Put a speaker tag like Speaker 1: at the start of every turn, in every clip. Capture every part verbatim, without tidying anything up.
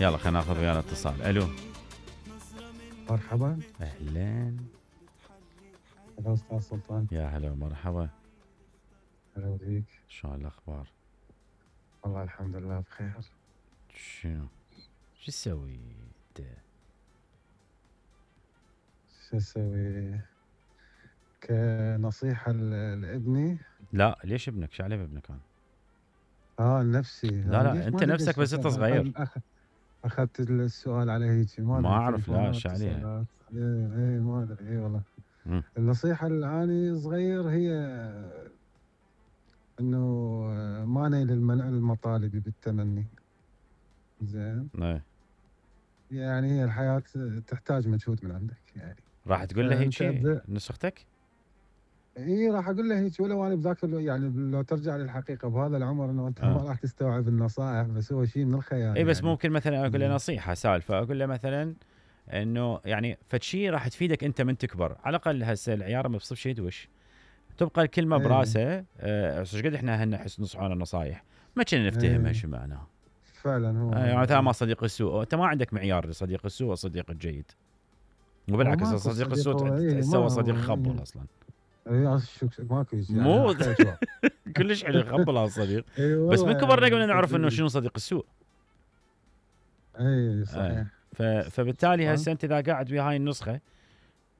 Speaker 1: يلا خلينا ناخذ ويانا اتصال. الو
Speaker 2: مرحبا.
Speaker 1: اهلين.
Speaker 2: هلا استاذ سلطان.
Speaker 1: يا هلا مرحبا.
Speaker 2: هلا بيك.
Speaker 1: شلون الاخبار؟
Speaker 2: والله الحمد لله بخير.
Speaker 1: شنو شو تسوي انت؟
Speaker 2: شو اسوي؟ كنصيحة ل- لابني.
Speaker 1: لا ليش ابنك؟ شو عليه بابنك انا؟
Speaker 2: اه نفسي.
Speaker 1: لا لا انت نفسك بس انت صغير.
Speaker 2: أخ... اخذت السؤال على هيك ما
Speaker 1: ما
Speaker 2: ادري
Speaker 1: اعرف لا
Speaker 2: تليفونات
Speaker 1: شو عليها.
Speaker 2: اتصالات. ايه ايه ما ادري ايه والله.
Speaker 1: مم.
Speaker 2: النصيحة اللي اني صغير هي انه ما نيل المن- المطالب بالتمني. زين.
Speaker 1: ايه
Speaker 2: يعني هي الحياة تحتاج مجهود من عندك يعني.
Speaker 1: راح تقول له هيك
Speaker 2: فأنت
Speaker 1: شيء
Speaker 2: ب-
Speaker 1: نسختك؟
Speaker 2: اي راح اقول له هيك ولو انا بذاك الو- يعني لو ترجع للحقيقه بهذا العمر انه انت ما
Speaker 1: آه.
Speaker 2: راح تستوعب النصائح، بس هو شيء من الخيال.
Speaker 1: اي بس
Speaker 2: يعني
Speaker 1: ممكن مثلا اقول له
Speaker 2: زين.
Speaker 1: نصيحه سالفه، اقول له مثلا انه يعني فد شيء راح تفيدك انت من تكبر، على الاقل هسه العيار ما بصير شيء يدوش، تبقى الكلمه
Speaker 2: ايه
Speaker 1: براسه. آه، ايش قد احنا هن نحس نصحونا نصايح ما كنا نفتهمها
Speaker 2: ايه
Speaker 1: شو معناها.
Speaker 2: فعلا هو
Speaker 1: آه، يعني
Speaker 2: هذا
Speaker 1: مثلا ما
Speaker 2: إيه.
Speaker 1: صديق السوء، انت ما عندك معيار لصديق السوء والصديق الجيد،
Speaker 2: هو
Speaker 1: وبالعكس
Speaker 2: ماكو
Speaker 1: صديق
Speaker 2: صديق،
Speaker 1: السوء
Speaker 2: هو ايه
Speaker 1: تحسه
Speaker 2: ما
Speaker 1: هو صديق
Speaker 2: هو
Speaker 1: خبل
Speaker 2: ايه,
Speaker 1: اصلا.
Speaker 2: إيه شو ماكو يعني
Speaker 1: مو
Speaker 2: احلى جواب.
Speaker 1: كلش حلو يخبل هذا الصديق.
Speaker 2: اي
Speaker 1: بس
Speaker 2: والله
Speaker 1: من كبرنا
Speaker 2: يعني
Speaker 1: قلنا نعرف انه
Speaker 2: صدقني.
Speaker 1: شنو صديق السوء.
Speaker 2: اي
Speaker 1: آه.
Speaker 2: صحيح.
Speaker 1: ف... فبالتالي
Speaker 2: سلطان.
Speaker 1: هسه انت اذا قاعد ويا هاي النسخه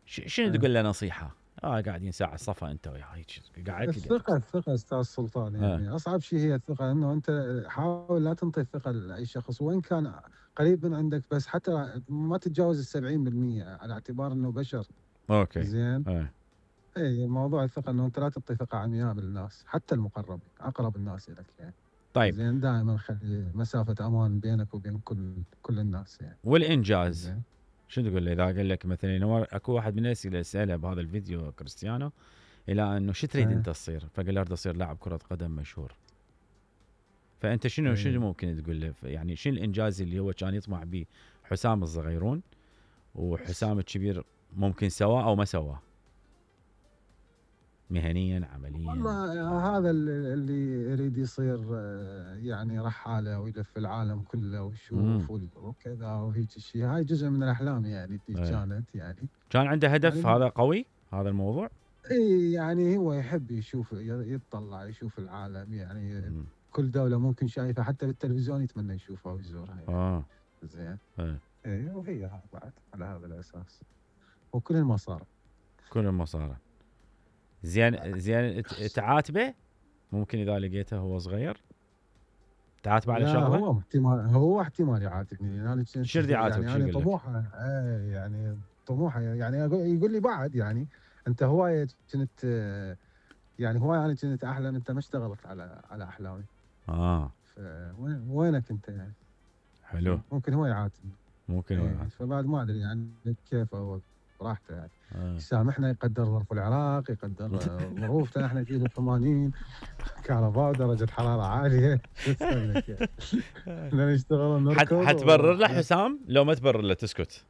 Speaker 1: ش... شنو
Speaker 2: ايه.
Speaker 1: تقول له نصيحه؟ اه قاعدين ساعه صفا انت ويا هيك قاعد لي
Speaker 2: الثقة الثقة أستاذ سلطان،
Speaker 1: اه
Speaker 2: يعني أصعب شيء هي الثقة، إنه أنت حاول لا تنطي الثقة لأي شخص وإن كان قريب من عندك، بس حتى ما تتجاوز السبعين بالمية على اعتبار إنه بشر.
Speaker 1: اوكي.
Speaker 2: زين.
Speaker 1: اه.
Speaker 2: إي موضوع الثقة إنه أنت لا تعطي ثقة عمياء بالناس، حتى المقربين أقرب الناس إليك يعني.
Speaker 1: طيب
Speaker 2: زين دائما خلي مسافة أمان بينك وبين كل كل الناس يعني.
Speaker 1: والانجاز
Speaker 2: زين.
Speaker 1: شنو تقول له اذا قال لك مثلا هو اكو واحد من الناس اللي ساله بهذا الفيديو كريستيانو الى انه شو تريد
Speaker 2: إيه.
Speaker 1: انت تصير؟ فقال له اريد اصير لاعب كره قدم مشهور. فانت شنو شنو
Speaker 2: إيه.
Speaker 1: ممكن تقول له؟ يعني شنو الانجاز اللي هو كان يطمع به حسام الصغيرون وحسام الكبير ممكن سواه او ما سواه مهنيا عمليا؟
Speaker 2: والله هذا اللي اللي يريد يصير آه، يعني رحالة ويلف العالم كله
Speaker 1: امم
Speaker 2: ويشوف وكذا وهيك شيء، هاي جزء من الأحلام يعني اللي
Speaker 1: ايه.
Speaker 2: كانت يعني.
Speaker 1: كان عنده هدف
Speaker 2: يعني
Speaker 1: هذا قوي هذا الموضوع.
Speaker 2: اي يعني هو يحب يشوف يطلع يشوف العالم يعني.
Speaker 1: مم.
Speaker 2: كل دولة ممكن شايفها حتى بالتلفزيون يتمنى يشوفها ويزورها يعني.
Speaker 1: اه
Speaker 2: زين.
Speaker 1: ايه.
Speaker 2: اي وهي بعد على هذا الأساس وكل المصاري.
Speaker 1: كل المصارى. زين زين ت- تعاتبه ممكن اذا لقيته هو صغير تعاتبه على
Speaker 2: لا
Speaker 1: شغله؟
Speaker 2: هو احتمال هو احتمال يعاتبني يعني. انا
Speaker 1: شو بدي يعاتبك؟
Speaker 2: يعني
Speaker 1: شو
Speaker 2: انا
Speaker 1: يقول لك؟
Speaker 2: طموحه ايه يعني طموحه يعني أقول يقول لي بعد يعني انت هوايه كنت آه، يعني هوايه انا كنت احلم انت ما اشتغلت على على احلامي.
Speaker 1: اه
Speaker 2: فوين وينك انت يعني.
Speaker 1: حلو.
Speaker 2: ممكن هو يعاتبني.
Speaker 1: ممكن هو
Speaker 2: ايه
Speaker 1: يعاتب.
Speaker 2: فبعد ما ادري يعني كيف هو براحته يعني.
Speaker 1: آه.
Speaker 2: يسامحنا يقدر ظرف العراق يقدر آه، ظروفنا احنا جيل الثمانين كهرباء ودرجه حراره عاليه شو اسوي لك يعني. بدنا نشتغل
Speaker 1: حت
Speaker 2: ونركض
Speaker 1: حتبرر له
Speaker 2: وحالات.
Speaker 1: حسام لو ما تبرر له تسكت؟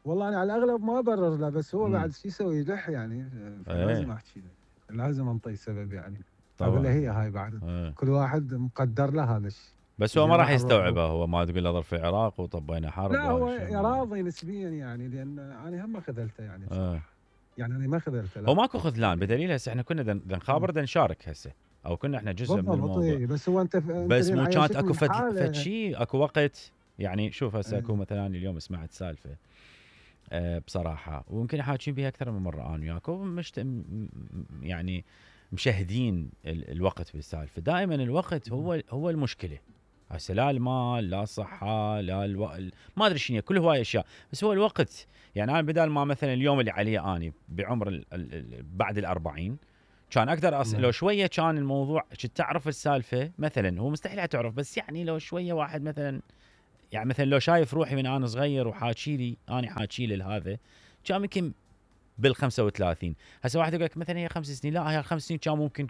Speaker 2: والله انا على الاغلب ما ابرر له، بس هو
Speaker 1: امم
Speaker 2: بعد شو يسوي يلح يعني. فلازم
Speaker 1: ايه
Speaker 2: احكي له، لازم انطي سبب يعني. اقول له
Speaker 1: طبعا.
Speaker 2: هي هاي بعد
Speaker 1: ايه.
Speaker 2: كل واحد مقدر له هذا الشيء.
Speaker 1: بس هو ما
Speaker 2: زين
Speaker 1: راح
Speaker 2: راح نروح.
Speaker 1: يستوعبه، هو ما تقول له ظرف العراق وطبينا حرب
Speaker 2: لا
Speaker 1: وهذا
Speaker 2: هو
Speaker 1: الشيء ما.
Speaker 2: راضي نسبيا يعني، لان انا هم ما خذلته يعني
Speaker 1: اه.
Speaker 2: بصراحه. يعني انا ما خذلته
Speaker 1: هو
Speaker 2: لا
Speaker 1: ماكو خذلان
Speaker 2: يعني.
Speaker 1: بدليل هسه احنا كنا دن نخابر دن نشارك هسه او كنا احنا جزء من
Speaker 2: بالضبط
Speaker 1: الموضوع.
Speaker 2: إيه، بس هو انت انت
Speaker 1: بس
Speaker 2: لين
Speaker 1: مو كانت اكو
Speaker 2: عايشتني
Speaker 1: فد فد
Speaker 2: بحاله.
Speaker 1: شيء اكو وقت. يعني شوف هسه اكو
Speaker 2: إيه.
Speaker 1: مثلا اليوم سمعت سالفه أه بصراحه ويمكن حاكين بها اكثر من مره انا وياكم مشت... م- م- يعني مشاهدين ال... الوقت بالسالفه. دائما الوقت هو هو المشكله. هسه لا المال لا الصحه لا الو... ال- ما ادري شنو كل هواي اشياء، بس هو الوقت. يعني انا بدال ما مثلا اليوم اللي عليه اني بعمر ال... ال... ال... بعد الأربعين كان اقدر أص... لو
Speaker 2: نعم.
Speaker 1: شويه كان الموضوع كنت تعرف السالفه مثلا. هو مستحيل تعرف، بس يعني لو شويه واحد مثلا يعني مثلا لو شايف روحي من انا صغير وحاكي لي انا حاكي لي لهذا كان يمكن بال خمسة وثلاثين. هسه واحد يقول لك مثلا هي خمس سنين، لا هي الخمس سنين كان ممكن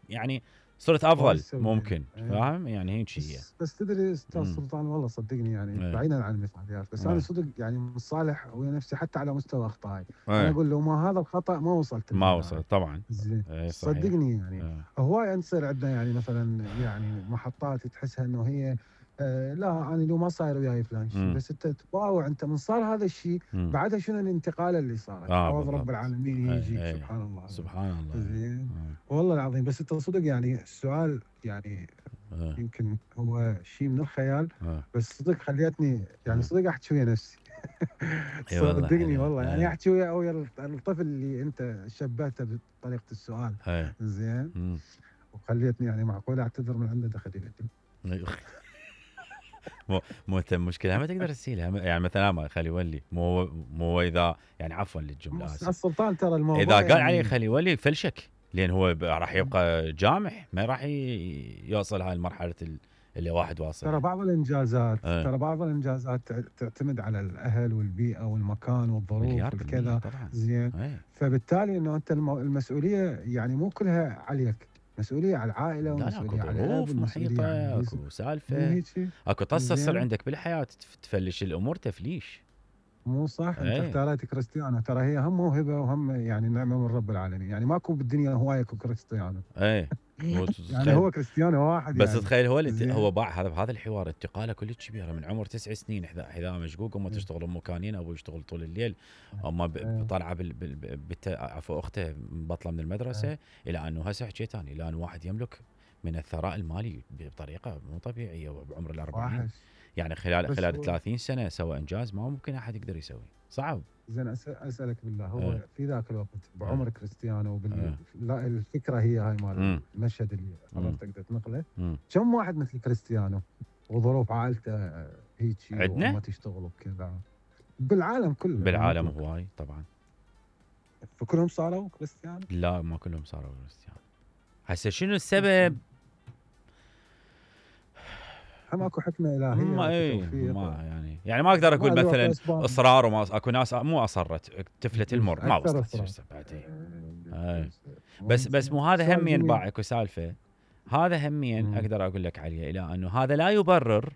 Speaker 1: يعني صرت افضل
Speaker 2: كويس أوي.
Speaker 1: ممكن.
Speaker 2: إيه.
Speaker 1: فاهم يعني هيك هي.
Speaker 2: بس بس تدري استاذ
Speaker 1: امم
Speaker 2: سلطان والله صدقني يعني
Speaker 1: ايه
Speaker 2: بعيدا عن المثاليات، بس انا
Speaker 1: ايه
Speaker 2: صدق يعني مصالح ويا نفسي حتى على مستوى اخطائي. انا
Speaker 1: ايه
Speaker 2: اقول لو ما هذا الخطا ما وصلت
Speaker 1: ما
Speaker 2: لهنا
Speaker 1: وصل
Speaker 2: انا.
Speaker 1: طبعا.
Speaker 2: زين.
Speaker 1: ايه صحيح.
Speaker 2: صدقني يعني
Speaker 1: ايه
Speaker 2: هواي تصير عندنا يعني مثلا يعني محطات تحسها انه هي آه لا انا لو ما صاير وياي فلان شيء،
Speaker 1: مم.
Speaker 2: بس انت تباوع انت من صار هذا الشيء
Speaker 1: مم.
Speaker 2: بعدها شنو الانتقاله اللي صارت،
Speaker 1: آه
Speaker 2: عوض
Speaker 1: بالضبط.
Speaker 2: رب العالمين
Speaker 1: أي
Speaker 2: يجيك
Speaker 1: أي.
Speaker 2: سبحان الله.
Speaker 1: سبحان الله.
Speaker 2: زين
Speaker 1: آه.
Speaker 2: والله العظيم. بس انت صدق يعني السؤال يعني
Speaker 1: آه.
Speaker 2: يمكن هو شيء من الخيال،
Speaker 1: آه.
Speaker 2: بس صدق خليتني يعني
Speaker 1: آه.
Speaker 2: صدق احكي ويا نفسي.
Speaker 1: اي والله
Speaker 2: صدقني
Speaker 1: حلو.
Speaker 2: والله يعني
Speaker 1: آه.
Speaker 2: احكي ويا ويا الطفل اللي انت شبهته بطريقه السؤال.
Speaker 1: آه.
Speaker 2: زين
Speaker 1: مم.
Speaker 2: وخليتني يعني معقول اعتذر من عنده دخلي.
Speaker 1: مو مو انت المشكله ما تقدر تسيلها، يعني مثلا ما خلي يولي مو مو اذا يعني عفوا للجمله اسف،
Speaker 2: السلطان ترى الموضوع
Speaker 1: اذا قال
Speaker 2: يعني
Speaker 1: عليه خلي يولي فلشك، لان هو ب- راح يبقى جامح، ما راح ي- يوصل هاي المرحله ال- اللي واحد واصل.
Speaker 2: ترى بعض الانجازات
Speaker 1: آه.
Speaker 2: ترى بعض الانجازات تع- تعتمد على الاهل والبيئه والمكان والظروف
Speaker 1: مليار بالمية
Speaker 2: والكذا.
Speaker 1: طبعا.
Speaker 2: زين
Speaker 1: أي.
Speaker 2: فبالتالي انه انت المو- المسؤوليه يعني مو كلها عليك، مسؤوليه على العائله
Speaker 1: لا لا اكو
Speaker 2: ومسؤوليه على الاب
Speaker 1: ظروف
Speaker 2: ومسؤوليه على
Speaker 1: محيطه،
Speaker 2: الجيس-
Speaker 1: اكو
Speaker 2: مو
Speaker 1: سالفه،
Speaker 2: هيك؟
Speaker 1: اكو طصه تصير
Speaker 2: زين
Speaker 1: عندك بالحياه تف- تفلش الامور تفليش.
Speaker 2: مو صح. انت
Speaker 1: اي
Speaker 2: اختاريت كريستيانو، ترى هي هم موهبه وهم يعني نعمه من رب العالمين، يعني ماكو بالدنيا هوايه كريستيانو.
Speaker 1: اي.
Speaker 2: يعني
Speaker 1: وتتخيل
Speaker 2: هو كريستيانو واحد
Speaker 1: بس
Speaker 2: يعني.
Speaker 1: تخيل هو اللي
Speaker 2: زين
Speaker 1: هو باع هذا بهذا الحوار انتقاله كلش كبيره من عمر تسع سنين، حذاء حذاء مشقوق، امه
Speaker 2: إيه.
Speaker 1: تشتغل ام كانين، ابوه يشتغل طول الليل، امه ب-
Speaker 2: إيه.
Speaker 1: طالعه بال بال بت عفوا اخته بطله من المدرسه،
Speaker 2: إيه.
Speaker 1: الى انه هسه حكيت ثاني الى انه واحد يملك من الثراء المالي بطريقه مو طبيعيه بعمر الأربعين،
Speaker 2: واحد
Speaker 1: يعني خلال
Speaker 2: بس
Speaker 1: خلال
Speaker 2: هو
Speaker 1: ثلاثين سنه سوى انجاز ما ممكن احد يقدر يسويه، صعب.
Speaker 2: زين أس- اسالك بالله، هو
Speaker 1: إيه.
Speaker 2: في ذاك الوقت بعمر كريستيانو بال...
Speaker 1: إيه.
Speaker 2: لا الفكره هي هاي مال
Speaker 1: مم.
Speaker 2: المشهد اللي
Speaker 1: مم.
Speaker 2: حضرتك تنقله،
Speaker 1: مم.
Speaker 2: كم واحد مثل كريستيانو وظروف عائلته هيجي
Speaker 1: عندنا؟
Speaker 2: وامه تشتغل وكذا بالعالم كله؟
Speaker 1: بالعالم
Speaker 2: مطلق.
Speaker 1: هواي طبعا.
Speaker 2: فكلهم صاروا كريستيانو؟
Speaker 1: لا ما كلهم صاروا كريستيانو. هسه شنو السبب؟
Speaker 2: هم اكو حكمه الهيه
Speaker 1: ما
Speaker 2: اكو
Speaker 1: اي
Speaker 2: توفيق
Speaker 1: ما يعني يعني ما اقدر اقول
Speaker 2: ما له
Speaker 1: مثلا
Speaker 2: اسباب.
Speaker 1: اصرار، وما اكو ناس مو اصرت تفلة المر ما
Speaker 2: أكثر
Speaker 1: وصلت
Speaker 2: إصرار.
Speaker 1: شو بعدين.
Speaker 2: إيه.
Speaker 1: بس بس مو هذا
Speaker 2: سؤال
Speaker 1: همين
Speaker 2: جميل.
Speaker 1: باع اكو سالفه، هذا همين
Speaker 2: مم.
Speaker 1: اقدر اقول لك عليه، الى انه هذا لا يبرر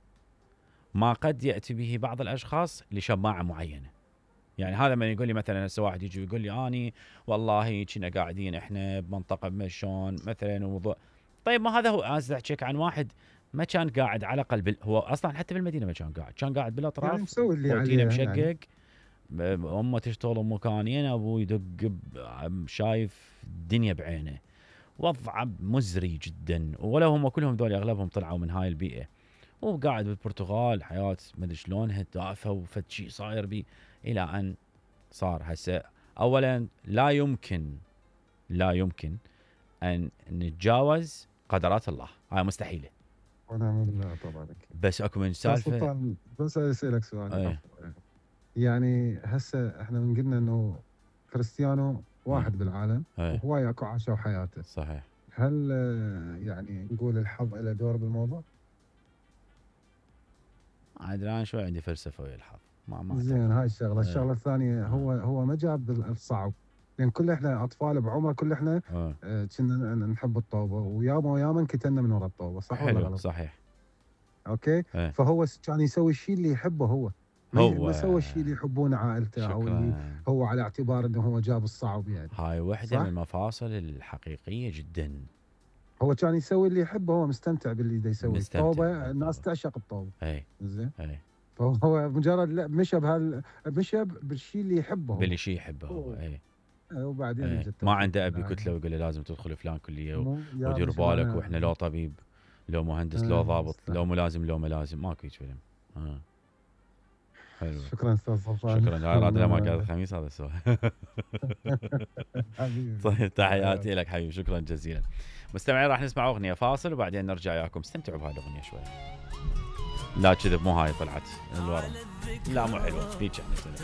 Speaker 1: ما قد ياتي به بعض الاشخاص لشماعه معينه. يعني هذا من يقول لي مثلا هسه واحد يجي يقول لي اني والله كنا قاعدين احنا بمنطقه بمشون مثلا وموضوع، طيب ما هذا هو انا احكيك عن واحد ما كان قاعد على قلب، هو اصلا حتى بالمدينه ما كان قاعد، كان قاعد بالاطراف
Speaker 2: يعني مسوي اللي
Speaker 1: بروتينه
Speaker 2: عليه
Speaker 1: مشقق
Speaker 2: يعني.
Speaker 1: ب- امه تشتغل ام كانين، ابوه يدق ب- شايف الدنيا بعينه، وضعه مزري جدا، ولو هم كلهم ذول اغلبهم طلعوا من هاي البيئه، وقاعد بالبرتغال حياه ما ادري شلونها دافه وفد شيء صاير بي، الى ان صار هسه. اولا لا يمكن لا يمكن ان نتجاوز قدرات الله، هاي مستحيله.
Speaker 2: ونعم بالله طبعا أكيد.
Speaker 1: بس اكو من
Speaker 2: بس
Speaker 1: سالفه
Speaker 2: سلطان بس اسالك سؤال.
Speaker 1: أي.
Speaker 2: عفوا. يعني هسه احنا من قلنا انه كريستيانو واحد
Speaker 1: مم.
Speaker 2: بالعالم
Speaker 1: أي.
Speaker 2: وهواي اكو عاشوا حياته،
Speaker 1: صحيح.
Speaker 2: هل آه، يعني نقول الحظ له دور بالموضوع؟
Speaker 1: عاد انا شوي عندي فلسفه ويا الحظ، ما ما
Speaker 2: زين هاي الشغله،
Speaker 1: أي.
Speaker 2: الشغله الثانيه هو هو ما جاب الصعب، لان كل احنا اطفال بعمر كل احنا
Speaker 1: آه.
Speaker 2: آه، كنا نحب الطوبه وياما وياما انكتلنا من ورا الطوبه، صح ولا
Speaker 1: حلو
Speaker 2: غلط؟
Speaker 1: صحيح.
Speaker 2: اوكي.
Speaker 1: أي.
Speaker 2: فهو س- كان يسوي الشيء اللي يحبه هو، ما ي-
Speaker 1: هو
Speaker 2: ما سوى الشيء اللي يحبونه عائلته او اللي
Speaker 1: شكرا،
Speaker 2: هو على اعتبار انه هو جاب الصعب يعني.
Speaker 1: هاي وحده
Speaker 2: صح؟
Speaker 1: من المفاصل الحقيقيه جدا.
Speaker 2: هو كان يسوي اللي يحبه، هو مستمتع باللي دا يسوي.
Speaker 1: مستمتع
Speaker 2: الطوبه
Speaker 1: بالطوبة.
Speaker 2: الناس تعشق الطوبه.
Speaker 1: اي
Speaker 2: زين
Speaker 1: اي
Speaker 2: فهو مجرد لا مشى بهال مشى بالشيء اللي يحبه هو.
Speaker 1: باللي شيء يحبه هو.
Speaker 2: أوه.
Speaker 1: اي
Speaker 2: آه، وبعدين
Speaker 1: اي
Speaker 2: يجي
Speaker 1: ما
Speaker 2: التوفيق
Speaker 1: عنده ابي
Speaker 2: بالله.
Speaker 1: كتله ويقول له لازم تدخل فلان كليه
Speaker 2: مو- يا
Speaker 1: ودير
Speaker 2: مش
Speaker 1: بالك
Speaker 2: أنا-
Speaker 1: واحنا لو طبيب لو مهندس لو
Speaker 2: آه،
Speaker 1: ضابط
Speaker 2: صح.
Speaker 1: لو ملازم لو ملازم ماكو هيك فيلم. اه حلو
Speaker 2: شكرا استاذ سلطان.
Speaker 1: شكرا. هاي راد لما قاعد الخميس هذا السؤال.
Speaker 2: حبيبي.
Speaker 1: طيب تحياتي لك حبيبي، شكرا جزيلا. مستمعين راح نسمع اغنيه فاصل وبعدين نرجع وياكم، استمتعوا بهاي الاغنيه شوي. لا كذب مو هاي طلعت الورا، لا مو حلوه هيك يعني.